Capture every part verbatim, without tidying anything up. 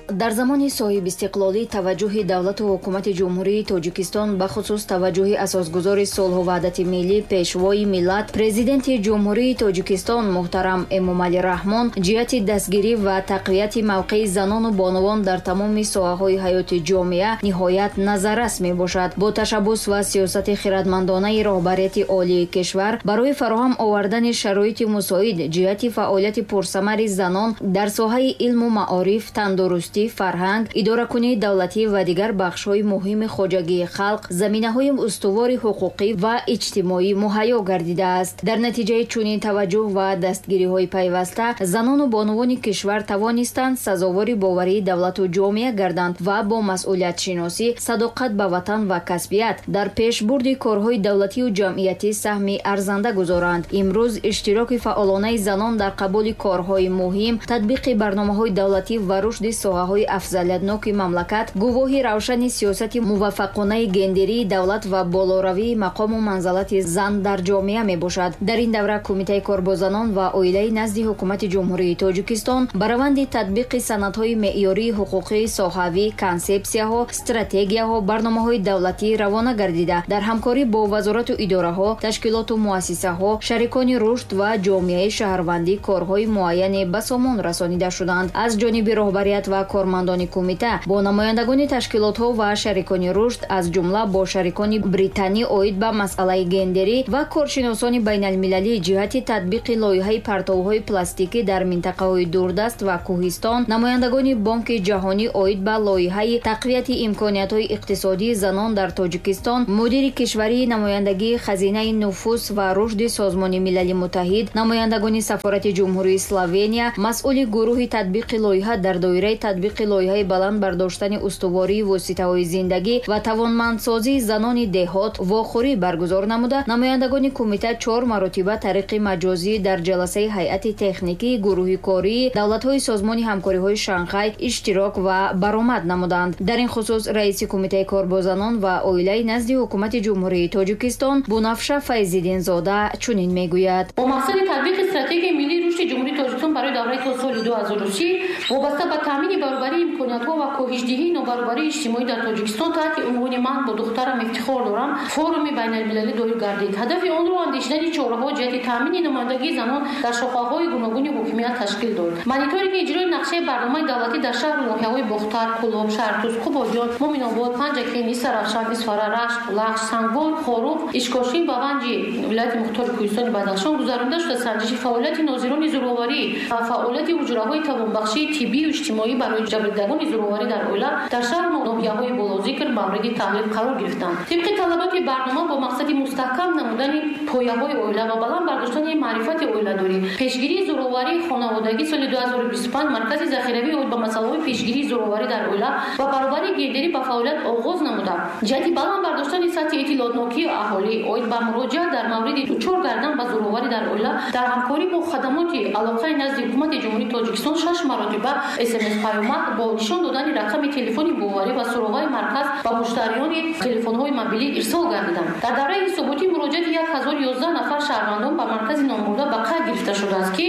Дар замони соҳибистиқлолӣ таваҷҷӯҳи давлату ҳукумати Ҷумҳурии Тоҷикистон, бахусус таваҷҷӯҳи асосгузори сулҳу ваҳдати миллӣ, пешвои миллат, Президенти Ҷумҳурии Тоҷикистон муҳтарам Эмомалӣ Раҳмон ҷиҳати дастгирӣ ва тақвияти мавқеи занону бонувон дар тамоми соҳаҳои ҳаёти ҷомеа ниҳоят назаррас мебошад. Бо ташаббус ва сиёсати хирадмандонаи роҳбарияти олии кишвар барои фароҳам овардани шароити мусоид ҷиҳати фаъолияти пурсамари занон дар соҳаи илму маориф, тандурустӣ, фарҳанг, идоракунии давлатӣ ва дигар бахшҳои муҳими хоҷагии халқ заминаҳои устувори ҳуқуқӣ ва иҷтимоӣ муҳайё гардидааст. Дар натиҷаи чунин таваҷҷӯҳ ва дастгириҳои пайваста занону бонувони кишвар тавонистанд сазовори боварии давлату ҷомеа гарданд ва бо масъулиятшиносӣ, садоқат ба ватан ва касбият дар пешбурди корҳои давлатию ҷамъиятӣ саҳми арзанда гузоранд. Имрӯз иштироки фаъолонаи занон дар қабули корҳои муҳим, татбиқи барномаҳои давлатӣ ва рушди соҳаҳои афзалиятноки мамлакат гувоҳи равшани сиёсати муваффақонаи гендерии давлат ва болоравии мақому манзалати зан дар ҷомеа мебошад. Дар ин давра Кумитаи кор бо занон ва оилаи назди Ҳукумати Ҷумҳурии Тоҷикистон ба раванди татбиқи санадҳои меъёрии ҳуқуқии соҳавӣ, консепсияҳо, стратегияҳо, барномаҳои давлатӣ равона гардида, дар ҳамкорӣ бо вазорату идораҳо, ташкилоту муассисаҳо, шарикони рушд ва ҷомеаи шаҳрвандӣ корҳои муайяне ба сомон расонида шуданд. Аз ҷониби роҳбарият ва кормандони кумита бо намояндагони ташкилотҳо ва шарикони рушд, аз ҷумла бо шарикони британӣ оид ба масъалаи гендерӣ ва коршиносони байналмилалӣ ҷиҳати татбиқи лоиҳаи партовҳои пластикӣ дар минтақаҳои дурдаст ва кӯҳистон, намояндагони Бонки ҷаҳонӣ оид ба лоиҳаи тақвияти имкониятҳои иқтисодии занон дар Тоҷикистон, мудири кишварии намояндагии хазинаи нуфус ва рушди Созмони Милали Муттаҳид, намояндагони сафорати Ҷумҳурии Словения, масъули гурӯҳи татбиқи лоиҳа дар доираи татбиқи лоиҳаи баланд бардоштани устувории воситаҳои зиндагӣ ва тавонмандсозии занони деҳот вохӯрӣ баргузор намуда, намояндагони кумита чор маротиба тариқи маҷозӣ дар ҷаласаи ҳайати техникии гурӯҳи кории давлатҳои Созмони ҳамкориҳои Шанхай иштирок ва баромад намуданд. Дар ин хусус раиси Кумитаи кор бо занон ва оилаи назди Ҳукумати Ҷумҳурии Тоҷикистон Бунафша Файзиддинзода чунин мегӯяд: бо мақсади татбиқи стратегияи миллии рушди Ҷумҳурии Тоҷикистон барои давраи то соли ду ҳазору си вобаста ба таъмини баробарии имкониятҳо ва коҳишдиҳии нобаробарии иҷтимоӣ дар Тоҷикистон таҳти унвони «Ман бо духтарам ифтихор дорам» форуми байналмилалӣ доир гардид. Ҳадафи онро андешидани чораҳо ҷиҳати таъмини намояндагии занон дар шохаҳои гуногуни ҳокимият ташкил дод. Мониторинги иҷрои нақшаи барномаи давлатӣ дар шаҳру ноҳияҳои Бохтар, Кӯлоб, Шаҳртуз, Қубодиён, Муминобод, Панҷакент, Истаравшан, Исфара, Рашт, Лахш, Сангвор, Хоруғ, Ишкошим ва Ванҷи вилояти мухтори Кӯҳистони Бадахшон гузаронида шуда, санҷиши фаъолияти нозирони зӯроварӣ ва фаъолияти ҳуҷраҳои тавонбахшии тиббию иҷтимоӣ барои ҷабрдидагони зӯроварӣ дар оила дар шаҳру ноҳияҳои болозикр мавриди таҳлил қарор гирифтанд. Тибқи талаботи барнома бо мақсади мустаҳкам намудани пояҳои оила ва баланд бардоштани маърифати оиладорӣ, пешгирии зӯроварии хонаводагӣ соли ду ҳазору бисту панҷ Маркази захиравӣ оид ба масъалаҳои пешгирии зӯроварӣ дар оила ва баробарии гендерӣ ба фаъолият оғоз намуда, ҷиҳати баланд бардоштани сатҳи иттилоотнокии аҳолӣ оид ба муроҷиат дар мавриди дучор гардан ба зӯроварӣ дар оила дар ҳамкорӣ бо хадамоти алоқаи назди Ҳукумати Ҷумҳурии Тоҷикистон шаш маротиба смс паёмак бо нишон додани рақами телефони боварӣ ва суроғаи марказ ба муштариёни телефонҳои мобилӣ ирсол гардиданд. Дар давраи ҳисоботӣ муроҷиати як ҳазору ёздаҳ нафар шаҳрвандон ба маркази номбурда ба қайд гирифта шудааст, ки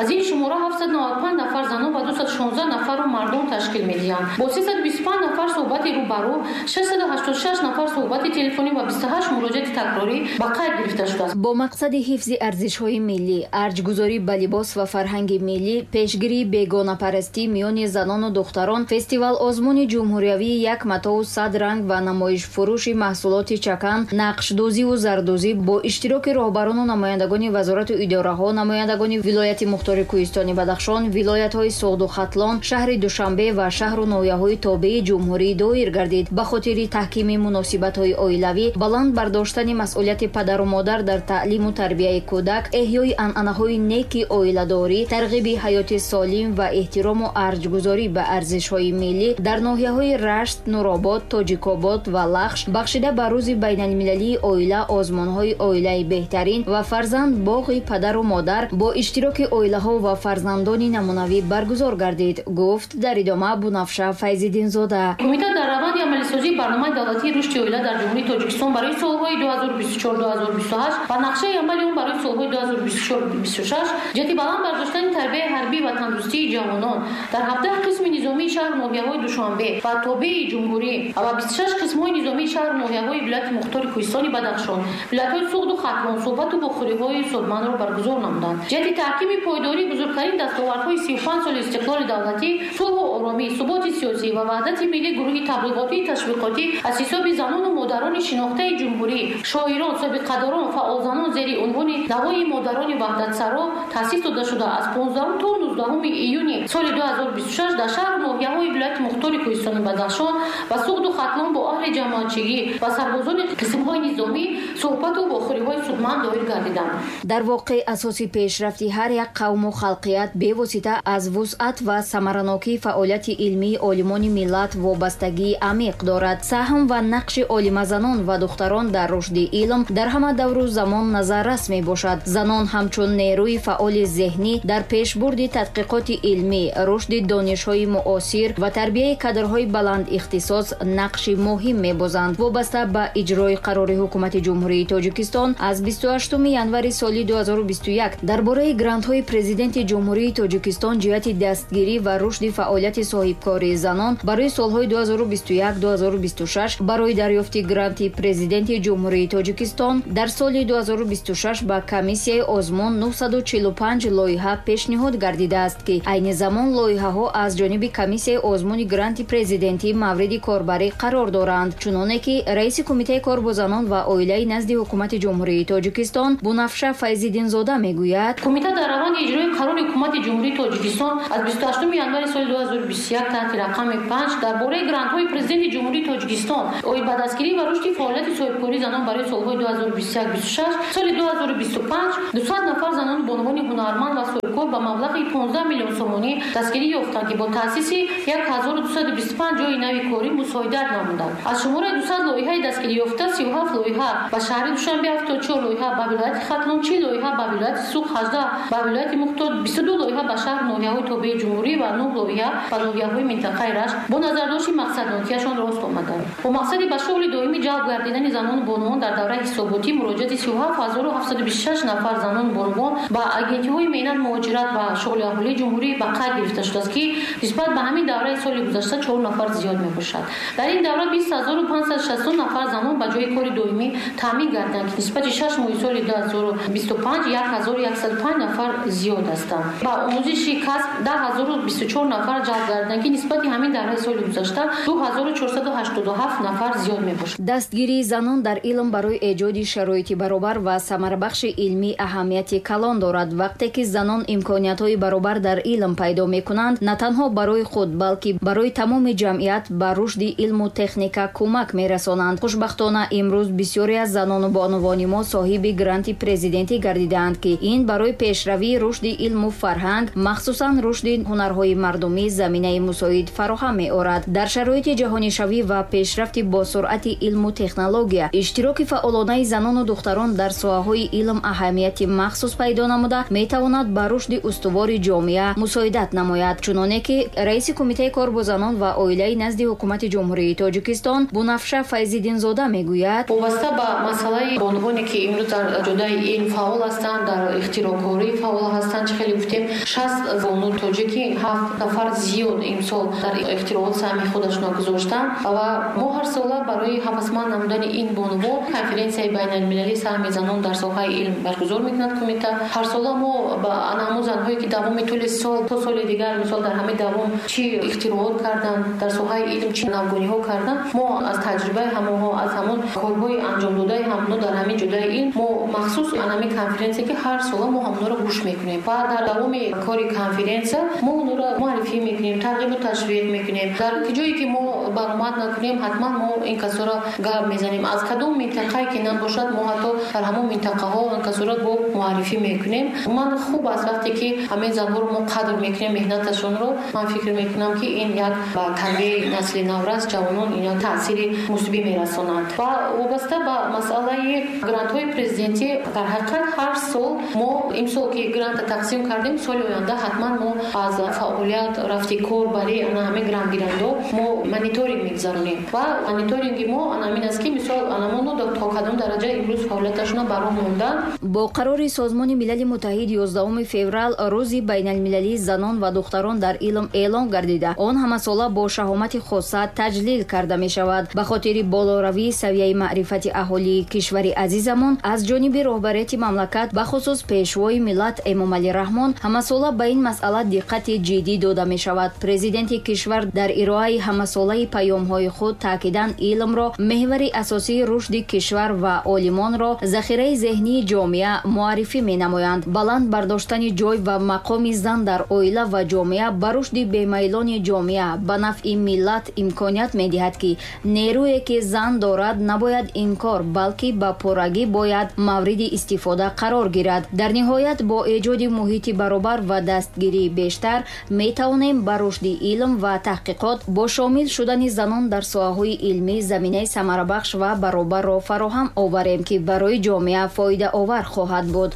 аз ин шумора ҳафтсаду наваду панҷ нафар занон ва дусаду шонздаҳ нафарро мардон ташкил медиҳанд. Бо сесаду бисту панҷ нафар суҳбати рӯбарӯ, шашсаду ҳаштоду шаш нафар суҳбати телефонӣ ва бисту ҳашт муроҷиати такрорӣ ба қайд гирифта шудааст. Бо мақсади ҳифзи арзишҳои миллӣ, арҷгузорӣ ба либос ва фарҳанги миллӣ, пешгирии бегонапарастӣ миёни занону духтарон, фестивал озмуни ҷумҳуриявии як матоу сад ранг ва намоишфурӯши маҳсулоти чакан, нақшдӯзиву зардӯзӣ бо иштироки роҳбарону намояндагони вазорату идораҳо, намояндагони вилояти мухтори Кӯҳистони Бадахшон, вилоятҳои Суғду Хатлон, шаҳри Душанбе ва шаҳру ноҳияҳои тобеи ҷумҳурӣ доир гардид. Ба хотири таҳкими муносибатҳои оилавӣ, баланд бардоштани масъулияти падару модар дар таълиму тарбияи кӯдак, эҳёи анъанаҳои неки оиладорӣ, тарғиби ҳаёти солим ва эҳтирому арҷгузорӣ ба арзишҳои миллӣ дар ноҳияҳои Рашт, Нуробод, Тоҷикобод ва Лахш бахшида ба рӯзи байналмилалии оила озмунҳои оилаи беҳтарин ва фарзанд боғи падару модар бо иштироки оилаҳо ва фарзандони намунавӣ баргузор гардид. гардид, гуфт дар идома Бунафша Файзиддинзода. Кумита дар раванди амалисозии барномаи давлатии рушди оила дар Ҷумҳурии Тоҷикистон барои солҳои ду ҳазору бисту чор - ду ҳазору бисту ҳашт ва нақшаи амали он барои солҳои ду ҳазору бисту чор - бисту шаш ҷиҳати баланд бардоштани тарбияи ҳарбӣ ва тандурустии ҷавонон дар ҳабдаҳ қисми низомии шаҳру ноҳияҳои Душанбе ва тобеи ҷумҳурӣ ва бисту шаш қисмҳои низомии шаҳру ноҳияҳои вилояти мухтори Кӯҳистони Бадахшон, вилоятҳои Суғду Хатлон суҳбату бохӯриҳои судмандро баргузор намуданд. Ҷиҳати таҳкими пойдории бузургтарин дастовардҳои сию панҷ соли истиқлоли давлатӣ, сулҳу оромӣ, суботи сиёсӣ ва ваҳдати миллӣ гурӯҳи таблиғотии ташвиқотӣ аз ҳисоби занону модарони шинохтаи ҷумҳурӣ, шоирон, собиқадорон, фаъолзанон зери унвони Навои модарони ваҳдатсаро таъсис дода шуда аз понздаҳум то нуздаҳуми июни соли ду ҳазору бисту шаш дар шаҳру ноҳияҳои вилояти мухтори Кӯҳистони Бадахшон ва Суғду Хатлон бо аҳли ҷамоатчигӣ ва сарбозони қисмҳои низомӣ суҳбату бохӯриҳои судманд доир гардиданд. Дар воқеъ асоси пешрафти ҳар як қавму халқият бевосита аз вусъат ва самаранокии фаъолияти илмии олимони миллат вобастагии амиқ дорад. Саҳм ва нақши олимазанон ва духтарон дар рушди илм дар ҳама давру замон назаррас мебошад. Занон ҳамчун нерӯи фаъоли зеҳнӣ дар пешбурди тадқиқоти илмӣ, рушди донишҳои муосир ва тарбияи кадрҳои баландихтисос нақши муҳим мебозанд. Вобаста ба иҷрои қарори Ҳукумати Ҷумҳурии Тоҷикистон аз бисту ҳаштуми январи соли ду ҳазору бисту як дар бораи грантҳои Президенти Ҷумҳурии Тоҷикистон ҷиҳати дастгирӣ ва рушди фаъолияти соҳибкории занон барои солҳои ду ҳазору бисту як - ду ҳазору бисту шаш барои дарёфти гранти Президенти Ҷумҳурии Тоҷикистон дар соли ду ҳазору бисту шаш ба комиссияи озмун нуҳсаду чилу панҷ лоиҳа пешниҳод гардидааст, ки айни замон лоиҳаҳо аз ҷониби комиссияи озмуни гранти президентӣ мавриди корбарӣ қарор доранд. Чуноне ки раиси Кумитаи кор бо занон ва оилаи назди Ҳукумати Ҷумҳурии Тоҷикистон Бунафша Файзиддинзода мегӯяд, Кумита дар раванди иҷрои қарори Ҳукумати Ҷумҳурии Тоҷикистон аз бисту ҳаштуми январи соли ду ҳазору бисту як таҳти рақами панҷ дар бораи грантҳои Президенти Ҷумҳурии Тоҷикистон оид ба дастгирӣ ва рушди фаъолияти соҳибкории занон барои солҳои ду ҳазору бисту як - бисту шаш соли ду ҳазору бисту панҷ дусад нафар занони бонувони ҳунарманд ва соҳибкор ба маблағи понздаҳ миллион сомонӣ дастгирӣ ёфтанд, ки бо таъсиси як ҳазору дусаду бисту панҷ ҷойи нави корӣ мусоидат намуданд. Аз шумораи дусад лоиҳаи дастгирӣ ёфта сию ҳафт лоиҳа ба шаҳри Душанбе, ҳафтоду чор лоиҳа ба вилояти Хатлон, чил лоиҳа ба вилояти Суғд, ҳаждаҳ ба вилояти Мухтор, бисту ду лоиҳа ба шаҳру ноҳияҳои тобеи ҷумҳурӣ ва нӯҳ лоиҳа ба ноҳияҳои минтақаи Рашт бо назардошти мақсаднокиашон рост омаданд. Бо мақсади ба шуғли доимӣ ҷалб гардидани занону бонувон дар давраи ҳисоботӣ муроҷиати сию ҳафт ҳазору ҳафтсаду бисту шаш нафар занону бонувон ба агентиҳои меҳнат, муҳоҷират ва шуғли аҳолии ҷумҳурӣ ба қайд гирифта шудааст, ки нисбат ба ҳамин давраи соли гузашта чор нафар зиёд мебошад. Дар ин давра бист ҳазору панҷсаду шасту нафар занон ба ҷои кори доимӣ таъмин гардиданд, ки нисбати шаш моҳи соли ду ҳазору бисту панҷ як ҳазору яксаду панҷ нафар зиёд ҳастанд. Ба омӯзиши касб даҳ ҳазору бисту чор нафар ҷалб гардиданд, ки нисбати ҳамин давраи соли гузашта ду ҳазору чорсаду ҳаштоду ҳафт нафар зиёд мебошад. Дастгирии занон дар илм барои эҷоди шароити баробар ва самарабахши илмӣ аҳамияти калон дорад. Вақте ки занон имкониятҳои баробар дар илм пайдо мекунанд, на танҳо барои худ, балки барои тамоми ҷамъият ба рушди илму техника кӯмак мерасонанд. Хушбахтона имрӯз бисёре аз занону бонувони мо соҳиби гранти президентӣ гардидаанд, ки ин барои пешравии рушди илму фарҳанг, махсусан рушди ҳунарҳои мардумӣ заминаи мусоид фароҳам меорад. Дар шароити ҷаҳонишавӣ ва пешрафти босуръати илму технология, иштироки фаъолонаи занону духтарон дар соҳаҳои илм аҳамияти махсус пайдо намуда метавонад ба рушди устувори ҷомеа мусоидат намояд. Чуноне ки раиси Кумитаи кор бо занон ва оилаи назди Ҳукумати Ҷумҳурии Тоҷикистон Бунафша Файзиддинзода мегӯяд, вобаста ба масъалаи бонувоне ки имрӯз дар ҷодаи илм фаъол ҳастанд, дар ихтироъкорӣ фаъол ҳастанд, чӣ хеле гуфтем шаст бону тоҷики ҳафт нафар зиёд имсол дар ихтироот саҳми худашонро гузоштанд ва мо ҳар сола барои ҳавасманд намудани ин бонувон конференсияи байналмилалии саҳми занон дар соҳаи илм баргузор мекунад кумита. Ҳар сола мо ба ҳамон занҳое ки давоми тӯли сол то соли дигар, мисол дар ҳамин давом чӣ ихтироот карданд, дар соҳаи илм чӣ навгониҳо карданд, мо аз таҷрибаи ҳамонҳо, аз ҳамон корҳои анҷомдодаи ҳамонҳо дар ҳамин ҷодаи илм мо махсус ҳамин конференсия ки ҳар сола мо ҳамонҳоро гӯш мекунем ва дар давоми кори конференсия мо онҳоро муаррифӣ мекунем, тарғибу ташвиқ мекунем. Дар ҷое ки мо баромад накунем, ҳатман мо ин касоро гап мезанем. Аз кадом минтақае ки набошад, мо ҳатто дар ҳамон минтақаҳо ин касоро бо муаррифӣ мекунем. Ман хуб аст вақте ки ҳамин занҳоро мо қадр мекунем, меҳнаташонро. Ман фикр мекунам, ки ин як ба тарбияи насли наврас, ҷавонон ин як таъсири мусбӣ мерасонад. Ва вобаста ба масъалаи грантҳои президентӣ, дар ҳақиқат ҳар сол мо имсол ки гранта тақсим кардем, соли оянда ҳатман мо аз фаъолият, рафти кор барои ана ҳамин грантгирандо мо мониторинг мегузаронем ва мониторинги мо ана ҳамин аст, ки мисол анамоно то кадом дараҷа имрӯз фаъолияташона ба роҳ монданд. Бо қарори Созмони Милали Муттаҳид ёздаҳуми феврал рӯзи байналмилалии занон ва духтарон дар илм эълон гардида, он ҳамасола бо шаҳомати хоса таҷлил карда мешавад. Ба хотири болоравии савияи маърифати аҳолии кишвари азизамон аз ҷониби роҳбарияти мамлакат, бахусус Пешвои миллат Эмомалӣ Раҳмон, ҳамасола ба ин масъала диққати ҷиддӣ дода мешавад. Президенти кишвар дар ироаи ҳамасолаи паёмҳои худ таъкидан илмро меҳвари асосии рушди кишвар ва олимонро захираи зеҳнии ҷомеа муаррифӣ менамоянд. Баланд бардоштани ҷой ва мақоми зан дар оила ва ҷомеа ба рушди бемайлони ҷомеа ба нафъи миллат имконият медиҳад, ки нерӯе ки зан дорад набояд инкор, балки ба пуррагӣ бояд мавриди истифода қарор гирад. Дар ниҳоят бо эҷоди муҳити баробар ва дастгирии бештар метавонем ба рушди илм ва таҳқиқот бо шомил шудани занон дар соҳаҳои илмӣ заминаи самарабахш ва баробарро фароҳам оварем, ки барои ҷомеа фоидаовар хоҳад буд.